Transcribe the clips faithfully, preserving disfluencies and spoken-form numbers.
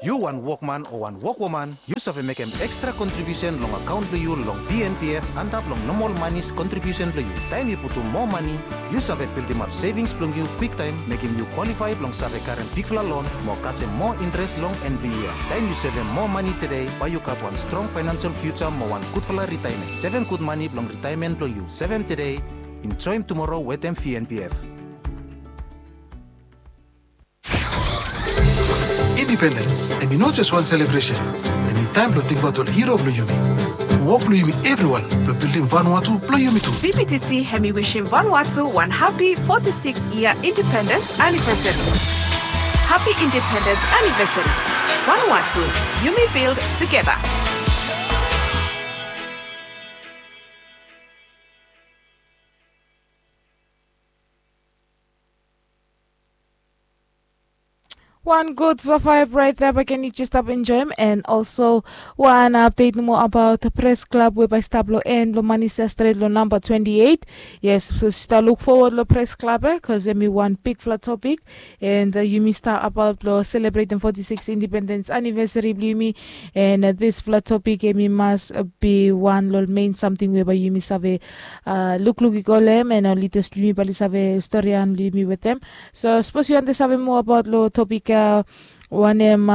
Yu wan wokman o wan wokwoman, yu save mekem ekstra kontribiusen long akaon blong yu long V N P F antap long nomol manis kontribiusen blong yu. Taem yu putum moa mani, yu save bildimap sevings blong yu kwiktaem, mekem yu kwalifae blong save karem bigfala lon mo kasem moa interes long en blong yia. Taem yu sevem moa mani tede, bae yu gat wan strong faenansel fiuja mo wan gudfala ritaemen. Sevem gud mani blong ritaemen blong yu. Sevem tede, enjoem tumoro wetem V N P F. Independence, hemi no jes wan selebresen. Hemi taem blong tingbaot ol hero blong yumi. Wok blong yumi evriwan blong bildim Vanuatu blong yumi tu. B P T C hemi wishim Vanuatu wan hapi foti sikis yia independens anivesari. Hapi independens anivesari. Vanuatu, yumi bild tugeta. Wan gud fafaef raet ya, bae ken yu jes stap enjoem, and also wan apdet nomo abaot pres klab we bae i stap long en blong Manisa stret long namba twenti eit. Yes, stap luk fowod long pres klab ya, bikos hemi wan bigfala topik, and yumi stap abaot long selebretem foti sikis independens anivesari blong yumi, and disfala topik hemi mas bi wan long mein samting we bae yumi save lukluk i go long hem, and ol lidas blong yumi bae oli save storian long yumi wetem. So sapos yu wantem save moa abaot long topik ya, wanem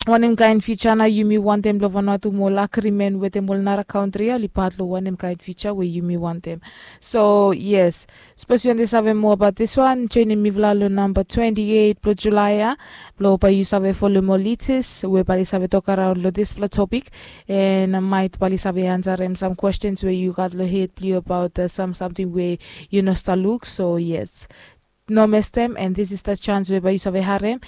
wanem kaen fiuja nao yumi wantem blong Vanuatu mo ol agrimen wetem ol nara kantri ya oli pat long wanem kaen fiuja we yumi wantem. So yes, sapos yu wantem save moa abaot diswan, joenem mifala long namba twenti eit blong Julae ya, blong bae yu save folem ol lidas we bae oli save tokaraon long disfala topik, and maet bae oli save ansarem sam kwestens we yu gat long hed blong yu abaot sam samting we yu no stap luk. So yes, no mestem, and this is the chance we bae yu save harem.